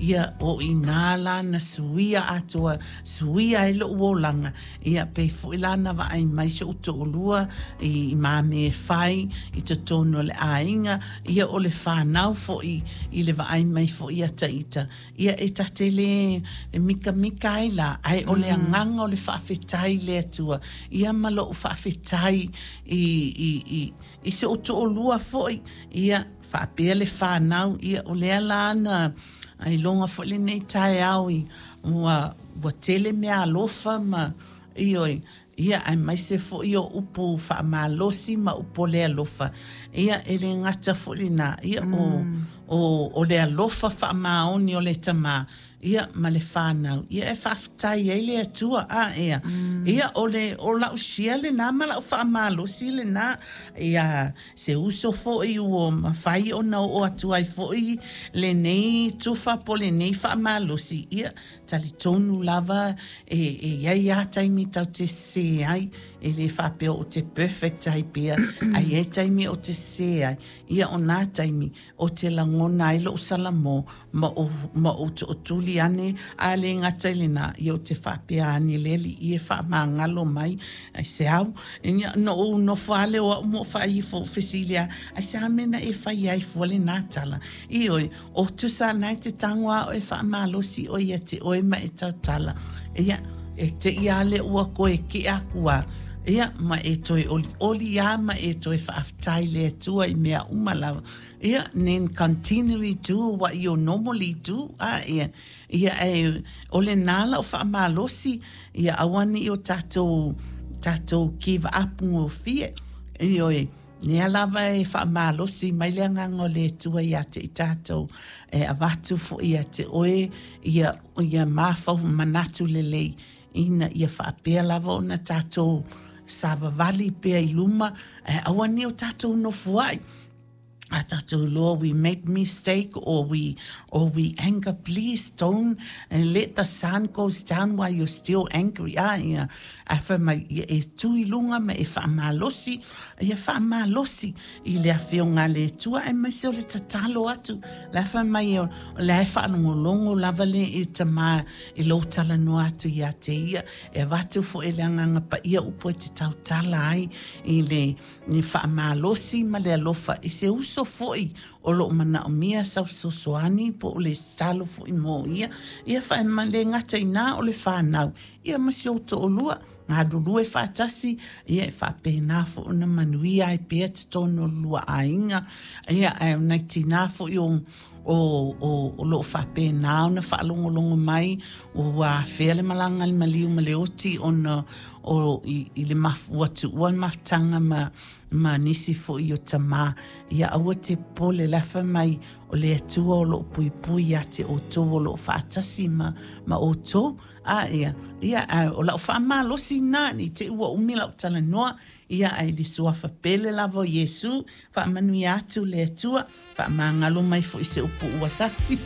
Ia, o i inā la na suia atoa, suia ai loʻu olaga, ia pei foi la na vaai mai si ou toalua i mea e fai i totonu o le aiga, ia o le fanau foi i le vaai mai foi ia ita, ia e ta te le mikamika ai la, ae o le agaga o le faafetai i le Atua, ia ma lou faafetai i si ou toalua foi, ia faapea le fanau, ia o lea la na iloga foi lenei taeao i ua tele mea alofa ma ioe, ia aemaise foi o upu faamalosi ma upu o le alofa, ia e le gata foi lena, ia o le alofa faamaoni o le Tama, ia ma le fanau, ia e faafetai ai le Atua a ea. Ia o le o lau share lena ma lau faamalosi lena, ia se uso foi ua mafai ona oo atu ai foi lenei tufa po o lenei faamalosi, ia talitonu lava e i ai lava taimi tatou te sese ai, e le faapea ou te perfect ai pea, ae i ai taimi ou te sese ai, ia o nā taimi ou te lagona ai lou salamo ma ou tootuli ane, a le gata i lena, ia ou te faapea ane le Alii e faamagalo mai, ai se au, na ou nofo lava lea o au ma ou faaifo ou fesili lava, ai se a mea na e fai ai fua lena tala? Ioe, o tusa na e te tago lava oe e faamalosi oe ia te oe ma e tautala. Ia, e te i lava lea ua toe kea aku lava, ia, ma e toe olioli lava ma e toe faafetai i le Atua i mea uma lava. Ia, then continually do what you normally do. A, ia, ia, e, o lena lau faamalosi, ia aua ne i o tatou give up gofie. Ioe, lea lava e faamalosi mai le agaga o le Atua ia te i tatou, e avatu foi ia te oe, ia mafau manatu lelei, ina ia faapea lava ona tatou savavali pea i luma, ae aua ne i o tatou nofoai. A tatou iloa we make mistake or we anger, please don't let the sun goes down while you're still angry. A, ia, ae fai mai, ia e tu i luga ma e faamalosi, ia faamalosi i le afioga a le Atua, aemaise o le tatalo atu. La fai mai o le e faalogologo lava le e Tama i lou talanoa atu ia te ia, e avatu foi le Agaga Paia upu e te tautala ai i le ni faamalosi ma le alofa i se uso foi o loo manaomia sau fesoasoani po o le tatalo foi mo ia. Ia le gata i na o le fanau, ia ma si ou toalua galulue faatasi, ia e faapena foi ona manuia ai pea totonu o le lua aiga. Ia, ae o nai tinā foi o loo faapena ona faalogologo mai ua afea le malaga a le maliu ma le oti ona o i le ua tuua le mafutaga ma nisi foi o tamā, ia aua te popole, la fai mai o le Atua o loo puipui ia te outou, o loo faatasi ma outou. A ia, ia o lau faamalosi lena, ne i te i ua umi lau talanoa, ia ae le suafa pele lava o Iesu, faamanuia atu le Atua, faamagalo mai foi se upu ua sasi.